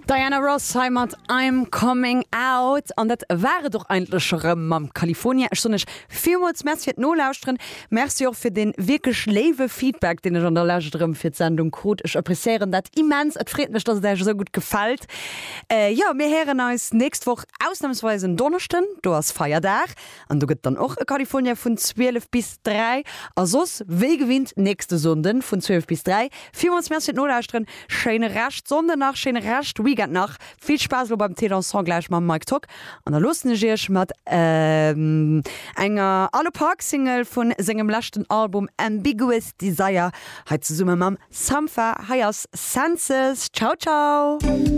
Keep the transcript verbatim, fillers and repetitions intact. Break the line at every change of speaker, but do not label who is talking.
Diana Ross hei mat I'm Coming Out an dat war et och eigentlech scho rëm mam California. Ech soen iech villmools Merci fir d'Nolauschteren. Merci och fir dee wierklech léiwe Feedback, deen ech an der Lescht rëm fir d'Sendung krut. Ech appreciéieren dat immens. Et freet mech, dass et iech esou gutt gefält. Äh, jo, mir héieren eis nächst Woch ausnamsweis en Donneschden, do ass Feierdag an do gëtt dann och e California vun zwielef bis dräi a soss wéi gewinnt nächste Sonnden vun zwielef bis dräi. Villmools Merci fir d'Nolauschteren. Schéine Rescht Sonnden nach, schéine Rescht Weekend nach. Vill Spaass elo beim Thé Dansant gläich mam Mike Tock an da loossen ech iech mat enger Arlo Parks Single vun sengem leschten Album Ambiguous Desire hei zesumme mam Sampha. Hei ass Senses. Ciao ciao.